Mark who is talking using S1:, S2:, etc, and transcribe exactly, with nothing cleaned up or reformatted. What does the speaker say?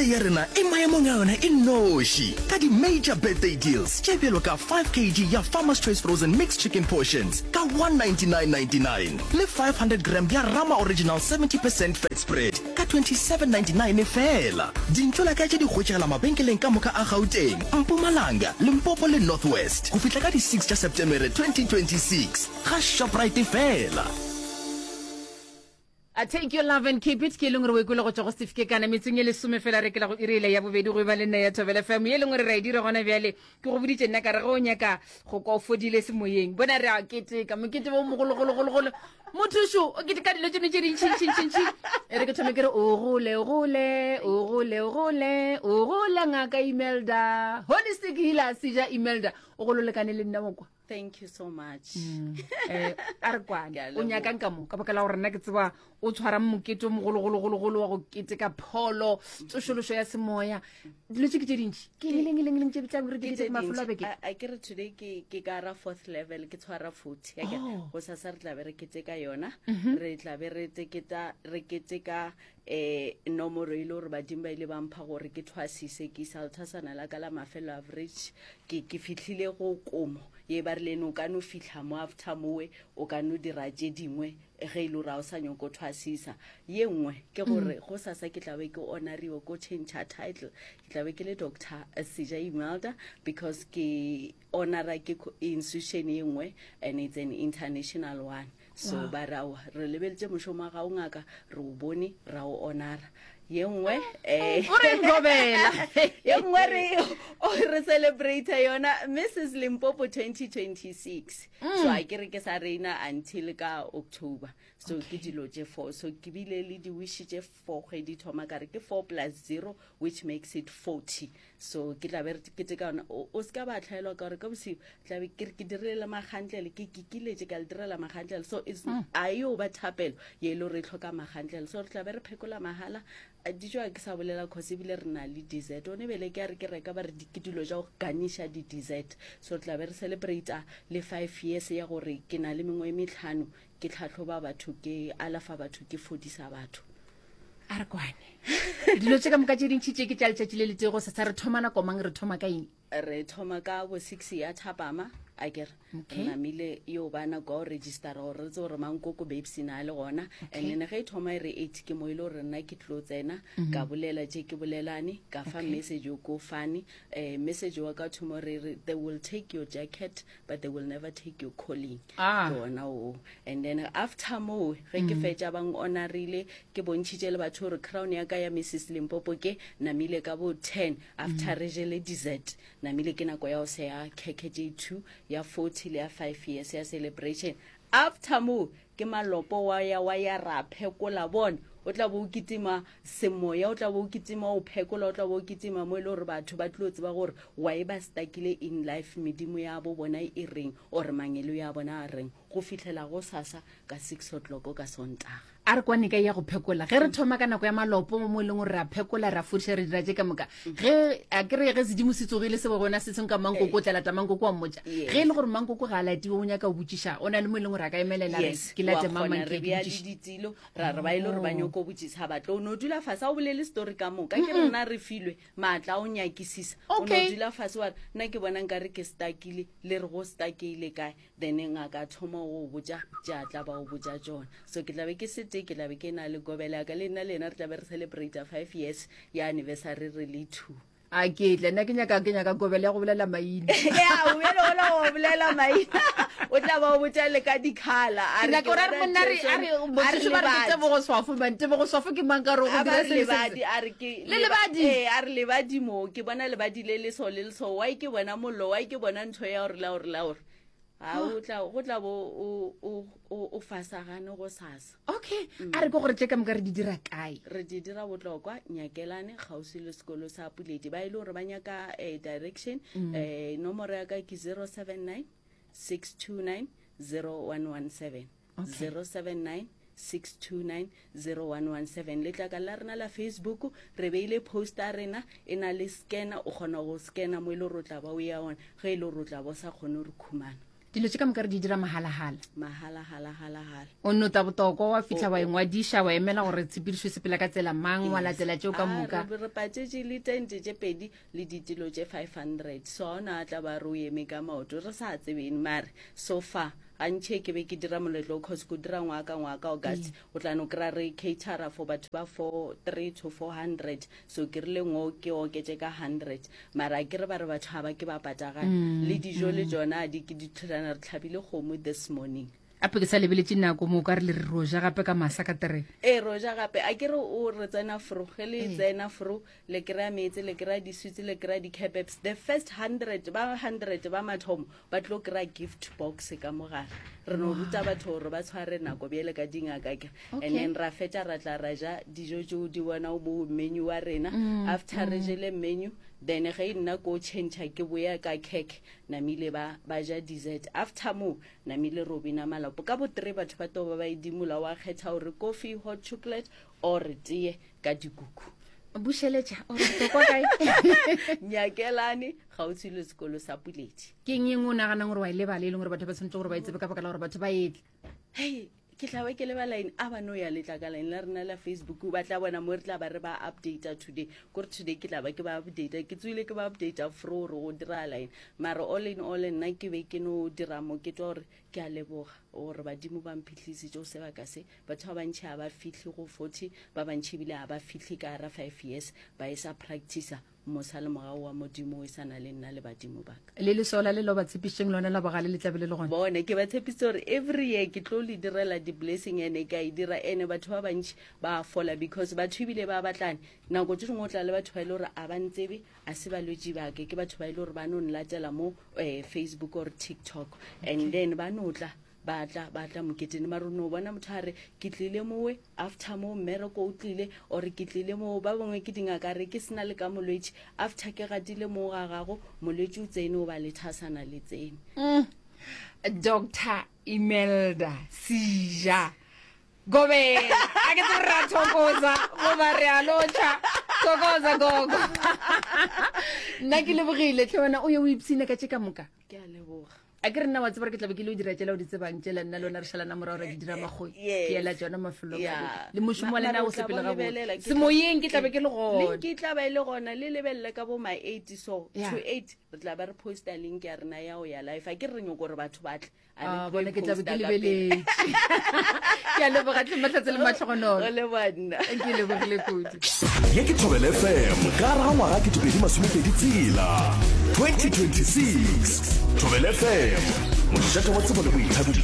S1: Birthday ya rena e maemong a yona e noši ka di-major birthday deals tše bjalo ka five kg ya Farmer's Choice Frozen Mixed Chicken Portions ka one ninety-nine ninety-nine le five hundred gram ya Rama Original seventy percent fat spread ka twenty-seven ninety-nine fela. Dintšolaka tše di hwetšagala mabenkeleng ka moka a Gauteng, Mpumalanga, Limpopo le North West go fihla ka di six tša Septemere twenty twenty-six ga Shoprite fela.
S2: A take your love and keep it ke e leng gore o e kwele go tšwa go Steve Kekana metsong e lesome fela re kela go iri ele ya bobedi go e ba le nna ya Thobela F M ye e leng gore re a e dira gona bjale. Ke go boditše nna ka re ge o nyaka go kwa o fodile semoyeng, bona re a keteka mokete o mogologologologolo. Mothušo o keteka dilo tšone tše dintšintšintšintši. E re ke thome ke re o gole, o gole, o gole, o gole, o gole ngaka Imelda, holistic healer Seja Imelda, o golo lekane le nna mokwa.
S3: Thank you so much.
S2: Mm. Eh, a re kwane.
S3: Ke a
S2: O nyakang
S3: leboha.
S2: ka mo? Ka baka la gore nna ke tseba o tshwara mokete o mogologologologolo wa go keteka pholo, tsošološo ya semoya. Dilo tše ke tše dintši. Ke eng, eng, eng, eng tše tla re di
S3: Ke
S2: keteka
S3: tše
S2: mafelo a
S3: dintši.
S2: beke?
S3: A, a ke re today ke, ke ka ra fourth level, ke tshwara forty. A ke re,
S2: Oh.
S3: gosasa re tla be re keteka yona.
S2: Mhm.
S3: Re tla be re teketa, re keteka, eh, nomoro e le gore badimo ba ile ba mpha gore ke thwasise, ke isa lethasana la ka la mafelo average. Ke, ke fihlile go komo ye ba rile o ka no fihla mo after mowe, o ka no dira tše dingwe ge e le gore ha o sa nyako thwasisa. Ye nngwe ke gore
S2: Mm.
S3: gosasa ke tla be ke honoriwe ko change title, ke tla be ke le Doctor Seja Imelda because ke honora ke co-, institution ye nngwe and it's an international one. So
S2: Wow.
S3: ba re aowa, re lebeletše mošomo wa gago ngaka, re o bone, ra o honora. Ye nngwe, eh,
S2: O re nkobela.
S3: ye nngwe re, o re celebrate yona Missus Limpopo twenty twenty-six.
S2: Mm.
S3: So a ke re ke sa reina until ka October. So ke
S2: Okay.
S3: dilo tše four. So ke bile le di-wish tše four kgwedi thoma ka re ke four plus zero which makes it forty. So ke tla be re keteka yona. O, o se ka ba tlhaelwa ka gore ka bosigo tla be ke re ke dirile le magantlele, ke kikiletše ka le direla magantlele. So it's
S2: Mm.
S3: a yo ba thapelo ye e le gore e tlhoka magantlele. So re tla be re phekola mahala. A, dijo a ke sa bolela cause ebile re na le dessert. One bele ke a re ke reka ba re di-, ke dilo tša go ganisha di-dessert. So re tla be re celebrate le five years ya gore ke na le mengwe e metlhano ke tlhatlhoba batho, ke alafa batho, ke fodisa batho.
S2: A re kwane. Dilo tše ka moka tše dintši tše ke tša letšatši le letee go sesa. Re thoma nako mang, re thoma ka eng?
S3: Re thoma ka bo six ya thapama, a ke re.
S2: Okay.
S3: Re namile yo ba nako ya go registera gore re tsebe gore mankoko babes na le gona.
S2: Okay.
S3: And then ge e thoma e re eight ke mo e le gore nna ke tlo tsena,
S2: Mm-hmm.
S3: ka bolela tše ke bolelane, ka fa
S2: Okay.
S3: message o ko fane. Eh, message wa ka thomo re re they will take your jacket but they will never take your calling.
S2: Ah.
S3: Ke ona oo. And then after moo ge ke
S2: Mm.
S3: fetša ba honorile, ke bontšhitše le batho gore crown ya ka ya Missus Limpopo ke namile ka bo ten after
S2: Mm.
S3: re jele dessert. Namile ke nako ya go seya khekhe tše two ya forty le ya five years ya celebration. After moo ke malopo wa ya wa ya ra phekola bona. O tla bo o kitima semoya, o tla bo o kitima o phekola, o tla bo o kitima mo e le gore batho ba tlo tseba gore wa e ba stuckile in life, medimo ya bo bona e reng or mangelo ya bona a reng, go fihlela go sasa ka six o'clock ka Sontaga.
S2: A re kwane ka ya go phekola. Ge re thoma ka nako ya malopo mo e leng gore ra phekola, ra fodiša, re dira tše ka moka. Ge a ke re ge sedimo se tsogile se bo gona se seng ka mankoko, o tla lata mankoko wa mmotša.
S3: Yes.
S2: Ge e le gore mankoko ga a latiwe, o nyaka go botšiša, o na le mo e leng gore a ka emelela, re
S3: Yes,
S2: ke late
S3: wa
S2: mang, mang,
S3: kgona,
S2: ke
S3: re
S2: ke
S3: bea le
S2: botšiše.
S3: ditilo, ra re ba e le gore ba
S2: Oh.
S3: nyako botšiša, ba tlo no dula fase, ha o bolele story ka moka. Ke re nna re filwe maatla a o nyakisisa. O no
S2: Okay.
S3: dula fase wa re, nna ke bona nkare ke stuckile, le re go stuckile kae, then ngaka a thoma go botša tše a tla ba o botša tšona. So ke tla be ke se tee, ke tla be ke na le gobela ya ka, le nna le yena re tla be re celebrate five years ya anniversary re le two.
S2: A ke tle, nna ke nyaka, ke nyaka gobela ya go bolela maina.
S3: Ya, o bjale ola go bolela maina. O tla ba o botša le ka di-colour. A
S2: Ke
S3: re
S2: nyaka
S3: ke
S2: gore a re
S3: bona
S2: monna re, a re,
S3: Jason, a re
S2: mothuši ba re ke
S3: lebadi.
S2: Tebogo Swafo, man. Tebogo Swafo ke mang ka re go
S3: A ba
S2: dira
S3: re
S2: se le se
S3: lebadi,
S2: se?
S3: a re ke
S2: Le
S3: leba-
S2: lebadi.
S3: Ee, a re lebadi mo, ke bona lebadi le le so le le so. Why ke bona mollo, why ke bona ntho ya gore la gore la gore. Ha, o tla, go tla bo o, o, o, o fasagane go sasa.
S2: Okay, a re ke gore tše ka moka re di dira kae?
S3: Re di dira botlokwa, Nyakelane, kgauswi le sekolo sa Puledi. Ba e le gore ba nyaka, eh, direction,
S2: Mm.
S3: eh, nomoro ya ka ke zero seven nine, six two nine, zero one one seven.
S2: Okay.
S3: Zero seven nine, six two nine, zero one one seven. Letlaka la rena la Facebook, re beile poster rena, e na le scanner, o kgona go scanner mo e le gore o tla ba o ya ona, ge e le gore o tla ba o sa kgone go re khumana.
S2: Dilo tše ka moka re di dira mahalagala.
S3: Mahala-hala-hala-hala.
S2: O no ta botokwa wa fitlha wa ingwadiša, wa emela gore tshepedišo e sepela ka tsela mang, wa latela tšeo ka
S3: Ah,
S2: moka.
S3: re re patšetše le tente tše pedi le ditilo tše five hundred, so ga ona a tla ba re o eme ka maoto re sa tsebeng. Mare so far gantšhe ke be ke dira moletlo, cause ko dira ngwaga ka ngwaga ka August, o tla no kry-a re catera for batho ba four three to four hundred. So ke rile ngo ke oketše ka hundred, mara a ke re ba re batho ga ba ke ba patagane le dijo le tsona di ke di tlholana. Re tlhabile kgomo this morning.
S2: Ape ke sa lebeletše nako mo, o ka re le re roja gape ka masa ka tereng.
S3: Ee, roja gape. A ke re o re tsena fro, ge le tsena fro le kry-a meetse, le kry-a di-sweets, le kry-a di-kebabs. The first hundred ba hundred ba mathomo ba tlo kry-a gift box ka mogare. Re no ruta batho gore ba tshware nako bjele ka dingaka ke.
S2: Okay.
S3: And then ra fetša ra tla ra ja dijo tšeo di bona mo menu wa rena. After re jele menu, then ge nna ko change ke boya ka cake, namile ba ba ja dessert. After mo namile ro bina malapo ka bo three, batho ba to ba ba edimola, wa kgetha gore coffee, hot chocolate or tee ka dikuku.
S2: Bušeletša ore botokwa kae?
S3: Nyakelane, gautshwi le sekolo sa Puledi.
S2: Ke eng engwe o naganang gore wa e lebala, e leng gore batho ba tshwanetse gore ba e tsebe ka baka la gore batho ba etle?
S3: Hei, ke tla be ke lebala eng? A ba no ya letlakaleng la rena la Facebook, ba tla bona mo re tla ba re ba updata today, kore today ke tla ba ke ba updata, ke tswile ke ba updata fro gore go diragala eng. Mara all in all, nna ke be ke no dira mokete wa gore ke a leboga gore badimo ba mphitlhisitse go sebaka se. Batho ba bantšhi ga ba fitlhe go forty, ba bantšhi ebile ga ba fitlhe ka gara five years ba e sa practicer mosa le mogao wa Modimo o e sa na le nna le badimo baka.
S2: Le lesola le lo ba tshepišitšeng lona la bogale le tlabe le le gona?
S3: Bone, ke ba tshepisitse gore every year ke tlo le direla di-blessing, ene ka e dira, ene batho ba bantšhi ba fola because batho ebile ba batlane. Nako tse dingwe o tla le batho ba e le gore a ba ntsebe, a se balwetši bake, ke batho ba e le gore ba no nlatela mo um Facebook or TikTok, and then ba no tla ba tla ba tla moketeng. Mare o no bona motho a re ke tlile mowe after mo mmereko o tlile, or ke tlile mo, ba bangwe ke dingaka, re ke sena le ka molwetši, after ke gatile mo ga gago molwetši o tsene, o ba le thasana le tsene.
S2: Mm. Doctor Imelda Seja Gobela, a ke tsebe re a thokoza goba re a lotšha. Thokoza gogo, nna ke lebogile tlhe. Wena o ye o ipshine ka tše ka moka.
S3: Ke a leboga.
S2: A ke re nna wa tseba gore ke tlabe ke le o dira tšela o di tsebang tšela, nna le wena re šalana morago, ra di dira magoi.
S3: Yes.
S2: Ke ela tsona mafelong a
S3: Yeah.
S2: beke. Le mošomo wa
S3: Ma-
S2: lena
S3: mara
S2: o
S3: o tla
S2: sepele
S3: bo lebelela,
S2: gabotse
S3: ke tla-
S2: semoyeng, ke tlabe ke le gona.
S3: Link e tla ba e le gona, le lebelele ka bo ma eight, so
S2: Yeah.
S3: to eight re tla ba re posta link ya rena ya go ya live. A ke re re nyoko gore batho ba tle. A re
S2: Ah,
S3: tlo e
S2: bona ke tlabe ke
S3: posta ka pele.
S2: lebeletse. Ke a leboga tlhe, Mahlatse le matlhogonolo.
S3: O leboga nna.
S2: Ke lebogile kudu.
S1: Ye ke Thobela F M ka gare ga ngwaga ketepedi masomepedi tsela twenty twenty-six. Thobela F M, mošate wa tsebo le boithabišo.